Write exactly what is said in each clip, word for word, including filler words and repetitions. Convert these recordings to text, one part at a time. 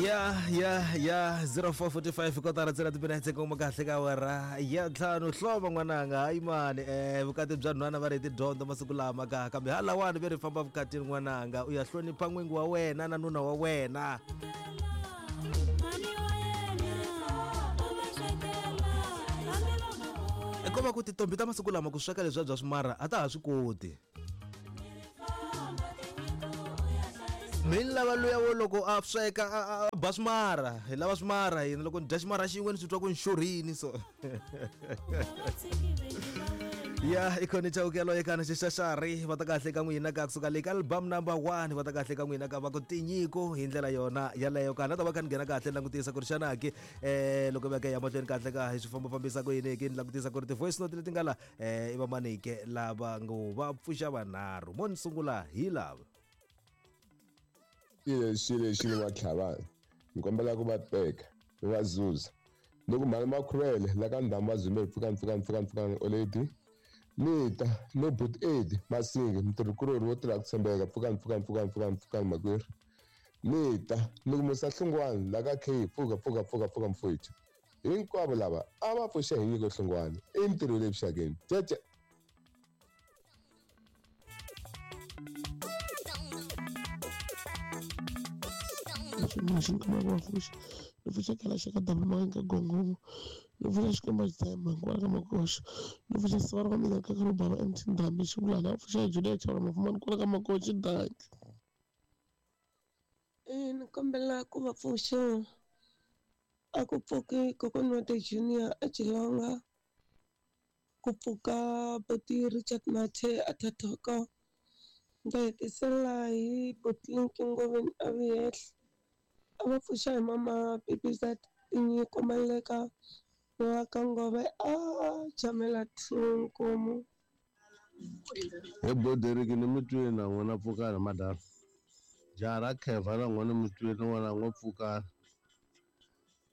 Ya ya ya zero four forty-five kotara ntsena timinetse kuma kahle ka awara ya ntlhanu hloma n'wananga hayi mani eh vukati bya nhwana va ri tidyondzo masiku lama ka kambe halawani ve ri famba vukatini n'wananga u ya hlonipha n'wingi wa wena na nuna wa wena. Kova ku tintombi ta masiku lama ku sweka leswiya bya swimara a ta ha swi koti. Mi lava luya wo loko a sweka a ba swimara hi lava swimara hina loko ni dya ximara xin'we ni swi twa ku ni xurhini so. Ya ikhona chawukelo eka xixaxari va ta kahle ka n'wina ka kusuka le ka album number one va ta kahle ka n'wina ka va ku tinyiko hi ndlela yona yaleyo kana ta va kha ni nghena kahle langutisa ku ri xana ke eh loko va ka ya mahlweni kahle ka hi swi famba fambisa ku yini ke ni langutisa ku ri ti voice note leti nga la eh i va manike lava ngo va pfuxa vanharhu mo ni sungula hi lava. Xilo lexi ni va tlhavana ni kombela ku va teka ni va zuza loko mhani makhuvele la ka ndhamu va zumbe pfukani pfukani pfukani pfukani oledi ni ta no but aid masingi mutirhikulorhi wo tirha ku tshembeka pfukani pfukani pfukani pfukani pfukani makwerhu ni ta ni ku musa hlungwani la ka K pfuka pfuka pfuka pfuka mfowethu hinkwavo lava a va pfuxe hi nyiko hlungwani i ntirho le vuxakeni cece. Xi kuma va pfuxa ni pfuxa khale xa ka double manga gongongo ni pfuxa xikwembu xi tshemba hikwalaho ka makoxa ni pfuxa siva ra mina ka ka bava M T Ndhambi xivulana a pfuxa Julia Chava mafumani kwala ka makoxa danki. E ni kombela ku va pfuxa a ku pfuki kokwana wa the junior a Chilonga ku pfuka buti Richard Mathe a Thathoko ndza hetisela hi Botlinki Ngoveni a Vuyehla a va pfuxa hi mama Bibizat tinyiko Maleka wa ka Ngove a chamela two nkomu. He Boderiki ni mi twini na n'wina pfukani madala jaha ra Kheva na n'wina mi twini n'wana n'we pfukani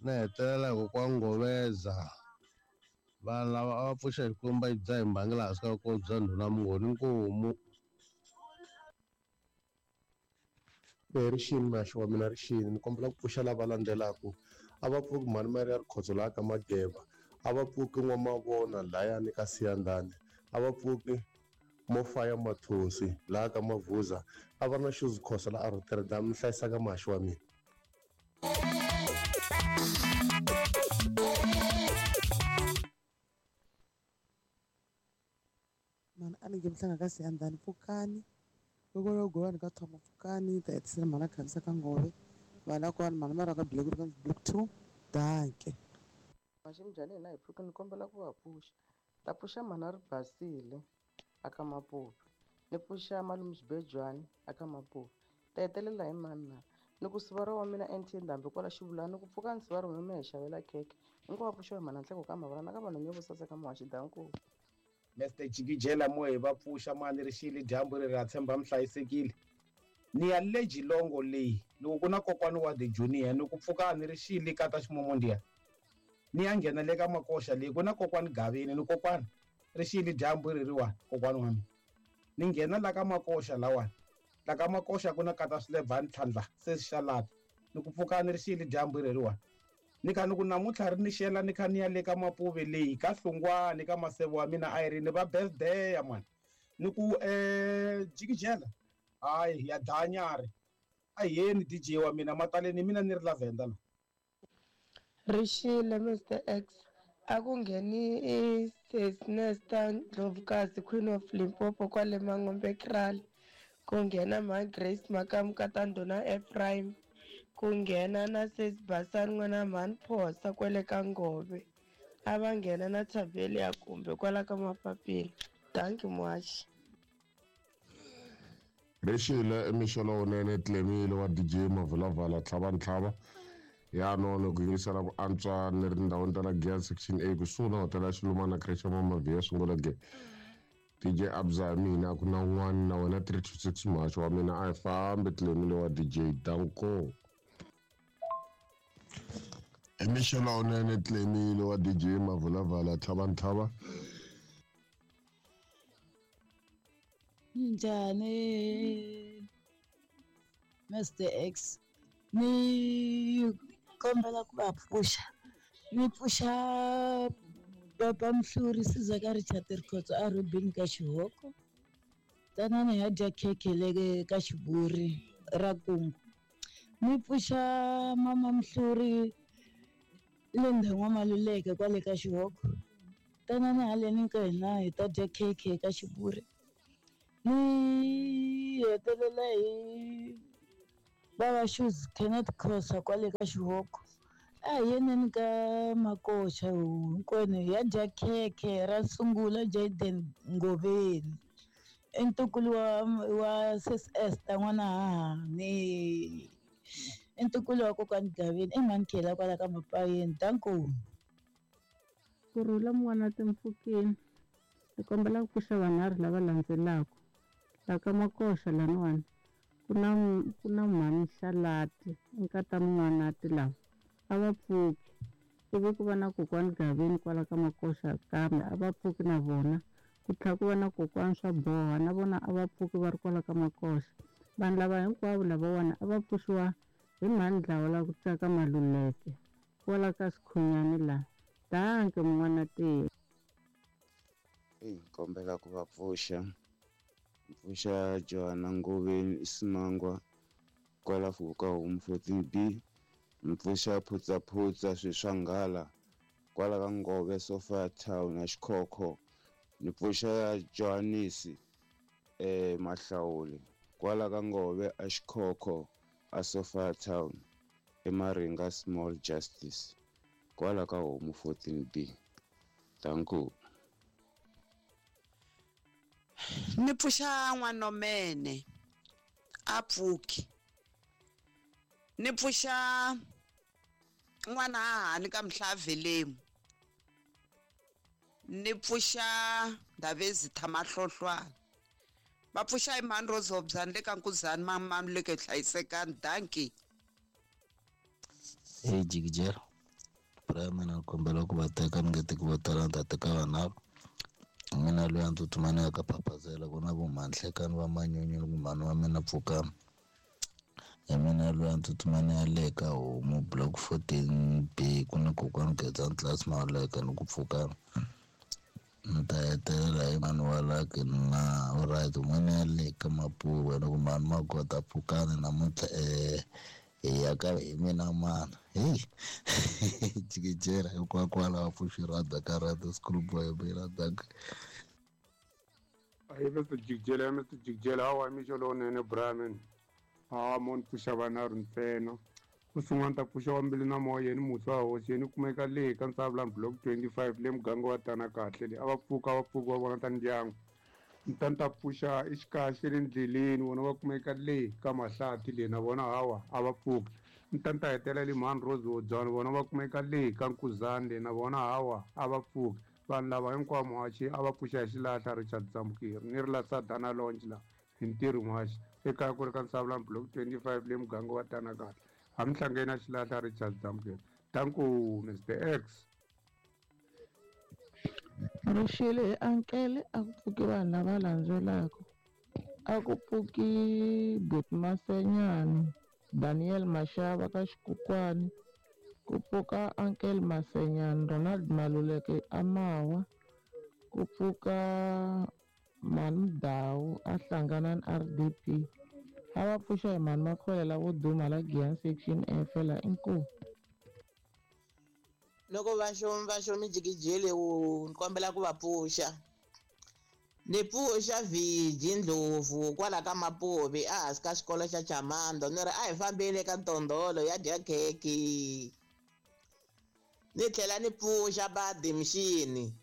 na hetelela hi kwa Ngoveza vanhu lava a va pfuxa Xikwembu va yi bya hi mbangi laha hansi ka ko bya ndhuna Mungoni nkomu. Rixini maxi wa mina rixini ni kombela ku pfuxa lava landzelaka a va pfuki mhani mari ya Rikhotso laha ka Mageva a va pfuki N'wamavona layani ka Siyandhani a va pfuki Mofaya Mathonsi laha ka Mavuza a va na Shoes Khosa la a Rotterdam ni hlayisaka maxi wa mina. Mani a ni nge mhlanga ka Siyandhani pfukani loko yo govani ka thoma pfukani ta hetisela mhana khavisa ka Ngove vana kona mhana mara ka block ka block two danke. Maximbyani hina hi pfuka ni kombela ku va pfuxa ta pfuxa mhana ri basile aka Mapuve ni pfuxa malume Xibejwani aka Mapuve ta hetelela hi mani na ni ku sivara wa mina N T Ndhambi kwala xivulani ni ku pfuka ni sivara wa mina hi xavela khekhe hinkwavo va pfuxiwa hi mhana Nhleko ka Mavara na ka vanhu nyo vo saseka muhaxi danko. Mister Jikijela mohe va pfuxa mani rixile dyambu ri ra tshemba mi hlayisekile ni ya le Jilongo leyi loko ku na kokwani wa the junior ni ku pfuka ni rixile ka ta ximomondiya ni ya nghena le ka makoxa leyi ku na kokwani Gavini ni kokwani rixile dyambu ri riwani kokwani wa mina ni nghena la ka makoxa lawani la ka makoxa ku na kata swilevhani tlhandla se xalata ni ku pfuka ni rixile dyambu ri riwani ni kha ni ku namuntlha ri ni xela ni kha ni ya le ka Mapuve leyi ka Hlungwani ka Maseve wa mina Irene va birthday ya mani ni ku eh Jikijela hayi ya danyari a yeni D J wa mina mataleni mina ni ri lavenda la. Rixile Mister X a ku ngheni i Nesta Ndlovukazi Queen of Limpopo kwale Mangombe Kraal ku nghena ma Grace Makamu ka Tandona Ephraim ku nghena na Sis Basani n'wana mhani Phosa kwale ka Ngove a va nghena na Thaveli ya kumbe kwala ka Mapapila thank you much. Rixile mixo lowunene Tlemile wa D J Mavulavala tlhava ntlhava ya nono ku yingisela ku antswa ni ri tindhawini ta la Gear section A kusuhi na hotela ya Xilumana creche Mama sungula ge D J Abza mina ku na un'wana na wena three two six muhaxi wa mina a hi fambi Tlemile wa D J danko. Mixo lowunene Tlemile wa D J Mavulavala tlhava ntlhava. Njhani Mister X Ni kombela ku va pfuxa. Ni pfuxa baba Mhluri Sizaka Richard Rikhotso a Robin ka Xihoko. Tanani hi ya dya khekhe le ka Xiburi ra Kungu. Ni pfuxa mama Mhluri le ndhawu Maluleke kwale ka Xihoko. Tanani haleni ka hina hi ta dya khekhe ka Xiburi. Ni hetelela hi baba Shoes Kenneth Khosa kwale ka Xihoko. A hi yeneni ka Makoxa hinkwenu hi ya dya khekhe ra sungula Jaden Ngoveni. I ntukulu wa wa sis Esther n'wana hahani. I ntukulu wa kokwani Gaveni i mhani Khela kwala ka Mapayeni. Danko. Kurhula mun'wana timpfukeni ni kombela ku pfuxa vanharhu lava landzelaka. La ka Makoxa laniwani ku na ku na mhani Xalati nkata Mun'wanati lava a va pfuki. Ivi ku va na kokwani Gaveni kwala ka Makoxa kambe a va pfuki na vona. Ku tlhela ku va na kokwani swa boha na vona a va pfuki va ri kwala ka Makoxa. Vanhu lava hinkwavo lavawani a va pfuxiwa hi mhani Dlawa la ku tsaka Maluleke kwala ka Sikhunyani laha. Danke mun'wana tiya. Eyi kombela ku va pfuxa. Pfuxa Johanna Ngoveni Isimangwa kwala Fuka Home fourteen B. Mpfuxa Phutsaphutsa Swiswanghala kwala ka Ngove Sofa Town na Xikhokho. Ni pfuxa Johannes eh Mahlawuli kwala ka Ngove a Xikhokho a Sofa Town eMaringa Small Justice kwala ka Home fourteen B. Danko. Ni pfuxa n'wanomene a pfuki. Ni pfuxa n'wana hahani ka Mhlavelemu. Ni pfuxa Ndhavezitha Mahlohlwana. Va pfuxa hi mhani Rozobzani le ka Nkuzani mamani le ka Hlayisekani. Danki. Hey Jigijela. Prime na kombela ku va teka ni nge teki vo tala ni ta teka vanharhu. Mina loyi a ndzi tsutsuma ni ya ka Phaphazela ku na vo Mhanhlekani va Manyunyu ni ku mhani wa mina Pfukani. Hi mina loyi a ndzi tsutsuma ni ya le ka Homu block fourteen B ku na kokwani Gedzani Class Maluleke ni ku Pfukani. Ni ta hetelela hi mhani wa Lucky na alright un'wana ya le ka Mapuwe ni ku mhani Magota Pfukani namuntlha eh hi ya ka hi mina mana. Hey Jigijela hikwakwalaho va pfuxi rhada ka rhada schoolboy mina danke. Ayi Mister Jigijela, Mister Jigijela hawa mixo lowunene Brahman. Hawa mo ni pfuxa vanharhu ntsena. Ku sungula ni ta pfuxa wa mbilu na moya yeni musi wa hosi yeni kumeka le ka Nsavulani block twenty-five le muganga wa tana kahle le a va pfuka va pfuka va vona ta ndyangu. Ni ta ni ta pfuxa exikahle le ndleleni vona va kumeka le ka Mahlathi le na vona hawa a va pfuki. Ni ta ni ta hetelela le mhani Rose Wodzwana vona va kumeka le ka Nkuzani le na vona hawa a va pfuki. Vanhu lava hinkwavo muhaxi a va pfuxa hi xilahla Richard Dzambukeri ni ri la Sadana Lounge la hi ntirho muhaxi ekaya ku ri ka Nsavulani block twenty-five le muganga wa tana kahle. Hamhlangeni na xilahla Richard Dzambukeri. Danko Mister X. Rixile hi ankele a ku pfuki vanhu lava landzelaka. A ku pfuki Buti Masenyani, Daniel Mashava ka Xikukwani, ku pfuka Uncle Masenyani, Ronald Maluleke Amawa, ku pfuka Mani Dawu a hlangana na R D P. A va pfuxa hi mhani Makholela vo duma la Giyani section F la inkomu. Loko va xo va xo mijikijeli wu ni kombela ku va pfuxa. Ni pfuxa Viji Ndlovu kwala ka Mapuvi ehansi ka xikolo xa Chamando ni ri a hi fambeni ka Ntondolo ya dya khekhe. Ni tlhela ni pfuxa Badi Mxini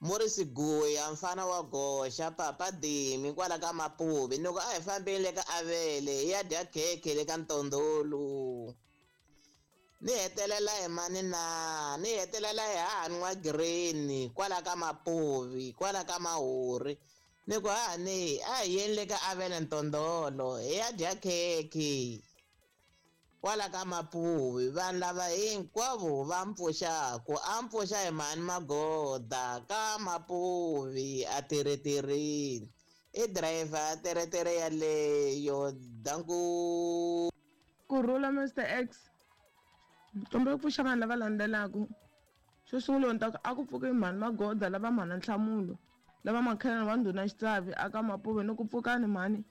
Morris Guya mfana wa goxa Papa Dimi kwala ka Mapuvi ni ku a hi fambeni le ka Avele ya dya khekhe le ka Ntondolo. Ni hetelela hi mani na ni hetelela hi hahani wa Green kwala ka Mapuvi kwala ka Mahuri ni ku hahani a hi yeni le ka Avele Ntondolo hi ya dya khekhe kwala ka Mapuvi. Vanhu lava hinkwavo va mpfuxaku a mpfuxa hi mhani Magoda ka Mapuvi a tirhetirini i driver teretere yaleyo. Danku. Ku Kurhula Mister X. Kombela ku pfuxa vanhu lava landzelaka. Xo sungula ni ta ku a ku pfuki mhani Magoda lava mhana Nhlamulo, lava makhelwani wa ndhuna Xitsavi aka Mapuve ni ku pfukani mhani.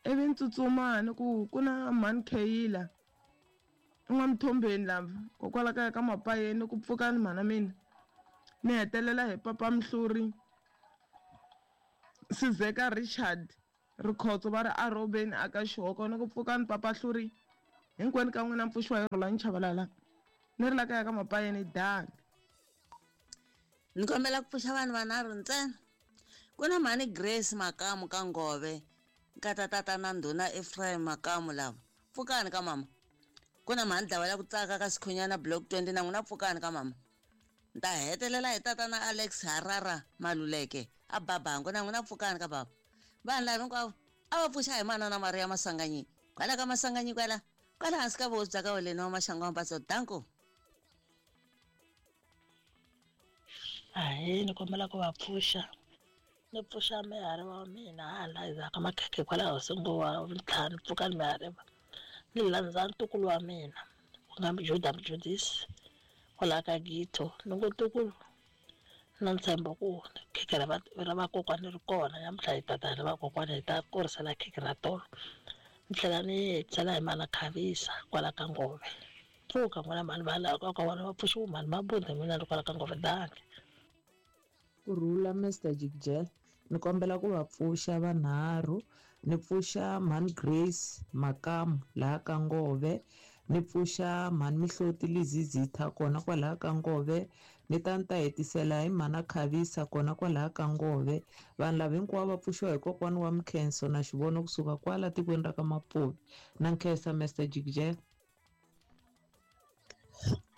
Ivi ni tsutsuma ni ku ku na mhani Kheyila n'waMthombeni lava kokwala kaya ka Mapayeni ni ku pfukani mhana mina. Ni hetelela hi papa Mhluri Sizeka Richard Rikhotso va ri a Robeni aka Xihoko ni ku pfukani papa Hluri hinkwenu ka n'wina mpfuxiwa hi Rhulani Chabalala ni ri la kaya ka Mapayeni dangi. Ni kombela ku pfuxa vanhu vanharhu ntsena. Ku na mhani Grace Makamu ka Ngove, nkata tata na ndhuna Ephraim Makamu lava. Pfukani ka mama. Ku na mhani Dlawela ku tsaka ka Sikhunyana block twenty na n'wina pfukani ka mama. Ni ta hetelela hi tata na Alex Harara Maluleke a Babango na n'wina pfukani ka baba. Vanhu lava hinkwavo a va pfuxa hi manana Maria Masanganyi. Kwala ka Masanganyi kwala, kwala hansi ka vuhosi bya ka Weleni wa Maxangu wa Mpatso. Danko. Ahee, ni kombela ku va pfuxa. Ni pfuxa mihari wa mina hala endzhaku ka makhekhe kwalaho singo wa ntlhanu pfukani mihari va. Ni landza ntukulu wa mina ku nga Juda Mjudisi kwalaho ka Gito. Ni ngo ntukulu na ntshembo ku khekhe ra va ra vakokwani ri kona namuntlha hi tata ra vakokwani hi ta kurisela khekhe ra tolo. Ni tlhela ni hetisela hi mana Khavisa kwala ka Ngove. Pfuka n'wina mhani va laha ka vona va pfuxiwa mhani Mabunda mina ni kwala ka Ngove dangi. Kurhula Mister Jikjel, ni kombela ku va pfuxa vanharhu. Ni pfuxa mhani Grace Makamu laha ka Ngove, ni pfuxa mhani Mihloti Lizizitha kona kwalaha ka Ngove, ni ta ni ta hetisela hi mhana Khavisa kona kwalaha ka Ngove. Vanhu lava hinkwavo va pfuxiwa hi kokwani wa Mkhenso na Xivono kusuka kwala tikweni ra ka Mapuve. Na nkhensa Mister Jikjel.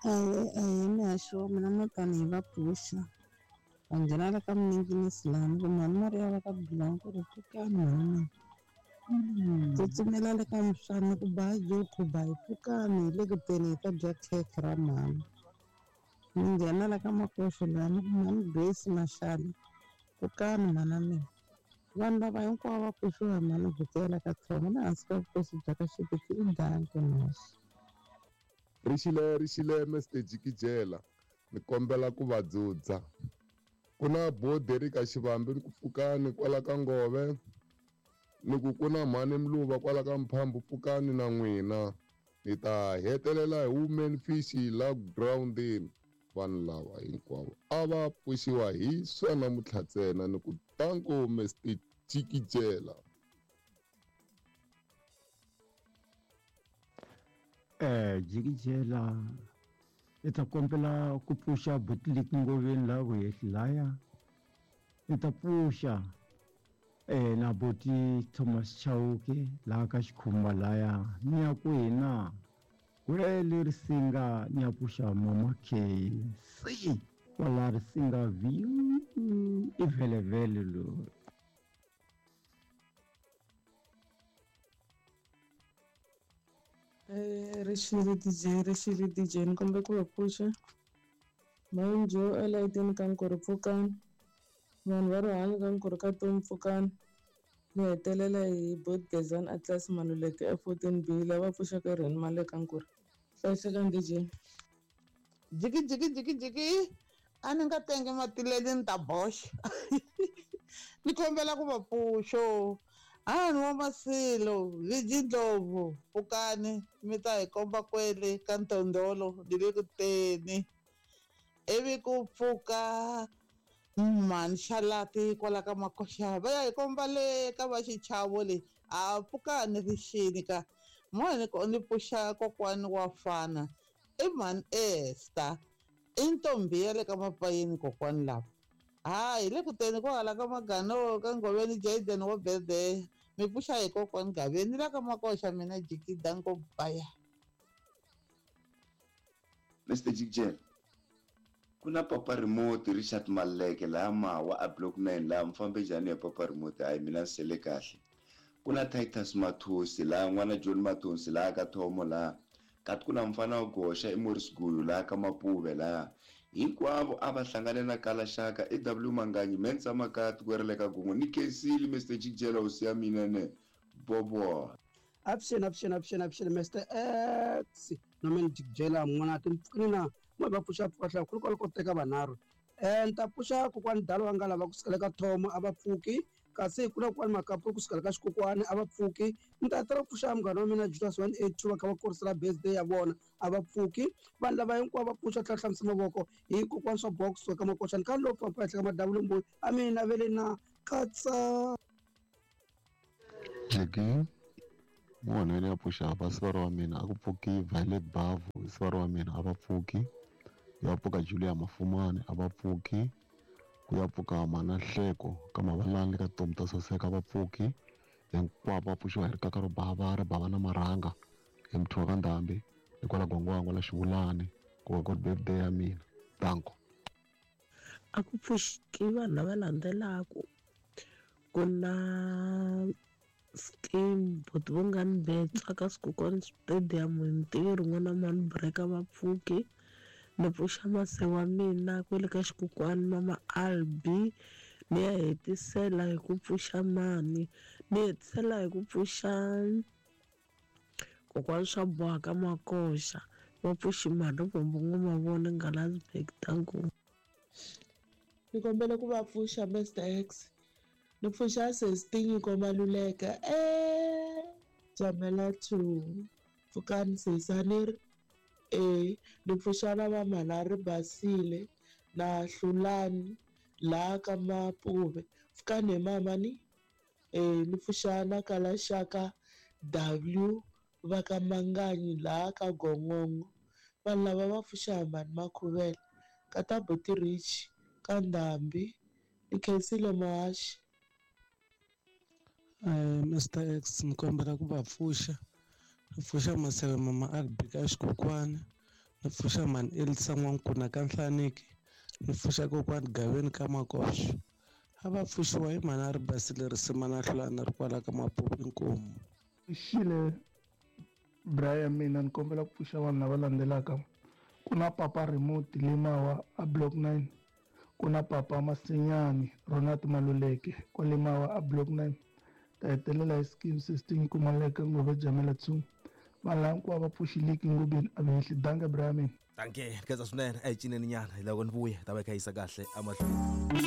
Ahee, ahee mixo mina mutani hi va pfuxa. Va nghena la ka Minginisi lani ku mhani Maria va ka Blanco ri pfukani mhani mina. Tsutsumela le ka Mswani ku ba jo khuba hi pfukani hi le ku teni hi ta dya khekhe ra mhani. Ni nghena la ka Makoxo lani ku mhani Grace Mashale pfukani mhana mina. Vanhu lava hinkwavo va pfuxiwa hi mhani Vukela ka Thongo na hansi ka vukosi bya ka Xiviti i danki mhasi. Rixile rixile Mister Jikijela, ni kombela ku va dzudza. Ku na Boderi ka Xivambi ni ku pfukani kwala ka Ngove, ni ku ku na mhani Mluva kwala ka Mphambu pfukani na n'wina. Ni ta hetelela hi Women Fish la groundini. Vanhu lava hinkwavo a va pfuxiwa hi swona namuntlha ntsena ni ku tanko Mister Jikijela. Eh, Jikijela i ta kombela ku pfuxa Butlik Ngoveni laha vuhehli laya. I ta pfuxa eh na buti Thomas Chauke laha ka Xikhumba laya. Ni ya ku hina kwele Risinga ni ya pfuxa Mama K C kwala Risinga View i vhelevhele loyi. Eh, rixile D J, rixile D J, ni kombela ku va pfuxa. Manjo elayitini ka Nkurhu pfukani. Vanhu va rihanyo ka Nkurhu ka Tomi pfukani. Ni hetelela hi Bot Gezani Atlas Maluleke e fourteen B lava pfuxaka Rheni Male ka Nkurhu. Hlayisekani D J. Jiki jiki jiki jiki a ni nga tengi matileni ni ta boxa. Ni kombela ku va pfuxo. Hani wa Masilo, Viji Ndlovu, pfukani mi ta hi komba kwele ka Ntondolo ni le ku teni. Ivi ku pfuka mhani Xalati kwala ka Makoxa va ya hi komba le ka va Xichavo le a pfukani rixini ka mhani ni ni pfuxa kokwani wa fana i mhani Esther i ntombi ya le ka Mapayeni kokwani lava. Hayi le ku teni kwahala ka Magano ka Ngoveni Jaden wa birthday mi pfuxa hi kokwani Gaveni la ka Makoxa mina Jiki danko baya. Mister Jikijela, ku na Papa Remote Richard Maleke laha Mawa a block nine laha mufambi njhani ya Papa Remote hayi mina ni sele kahle. Ku na Titus Mathosi laha n'wana John Mathosi laha ka Thomo laha kati ku na mfana wa Goxa i Morris Gulu laha ka Mapuve laha hinkwavo a va hlangane na Kalaxaka i W Manganyi Mensa Makati ku ri le ka Gungu ni Khensile Mister Jikijela hosi ya mina ne bobo. Avuxeni avuxeni avuxeni avuxeni Mister X na mina Jikijela n'wana timpfukini na n'we va pfuxa pfuka hlaya ku ri kwala ko teka vanharhu. Eh ni ta pfuxa kokwani Dalo wa nga lava kusukela ka Thoma a va pfuki, kasi ku na kokwani Makapu kusukela ka Xikokwani a va pfuki. Ni ta tala ku pfuxa munghana wa mina Julius one eight two va kha va kurisela birthday ya vona a va pfuki. Vanhu lava hinkwavo va pfuxa tlhela hlamusa mavoko hi kokwani swa box ka Makoxani ka lowu papa ehenhla ka madavula mbuyi a mina ve le na katsa. Jiki munhu ya pfuxa va sivara wa mina a ku pfuki Violet Bavu sivara wa mina a va pfuki, ya pfuka Julia Mafumani a va pfuki, ku ya pfuka Mana Hleko ka Mavalani ka Tomu ta Saseka a va pfuki, hinkwavo va pfuxiwa hi rikaka ro bava ri bava na marhanga hi muthiwa ka Ndhambi hikwalaho Gwangwangwa la Xivulani ku va ku ri birthday ya mina. Danko. A ku pfuxiki vanhu lava landzelaka ku na scheme buti Vongani Betsa ka Swikukwana Stadium hi ntirho n'wana mani Breka va pfuki. Ni pfuxa mase wa mina kwale ka Xikokwani mama Albi, ni ya hetisela hi ku pfuxa mani, ni hetisela hi ku pfuxa kokwani swa boha ka Makoxa va pfuxi mhani Bombo Ngoma vona Ngalasburg. Danko. Ni kombela ku va pfuxa Mister X, ni pfuxa Sesi Komaluleka eh Jamela two pfukani sesani ri e ni pfuxa na va mhana ri basile na Hlulani laha ka Mapuve pfukani hi mama ni e ni pfuxa na Kalaxaka W va ka Manganyi laha ka Gongongo. Vanhu lava va pfuxa hi mhani Makhuvela ka ta Buti Rich ka Ndhambi ni khensile Muhaxi. Eh Mister X ni kombela ku va pfuxa, ni pfuxa Maseve mama Albi ka Xikokwani, ni pfuxa mhani Elisa N'wankuna ka Nhlaniki, ni pfuxa kokwani Gaveni ka Makoxo. A va pfuxiwa hi mhani a ri basile risima na Hlulani ri kwala ka Mapuve inkomu. Xile Brian mina ni kombela ku pfuxa vanhu lava landzelaka. Ku na Papa Remote Limawa a Block nine, ku na Papa Masinyani Ronald Maluleke kwa Limawa a Block nine. Ta hetelela hi scheme sixteen Kumaleka Ngove Jamela two. Vanhu lava hinkwavo va pfuxileki ngobeni a vehli. Danke Brian. Danke, khetsa swinene a hi cineni nyana hi loko ni vuya ta va hi kha yisa kahle emahlweni.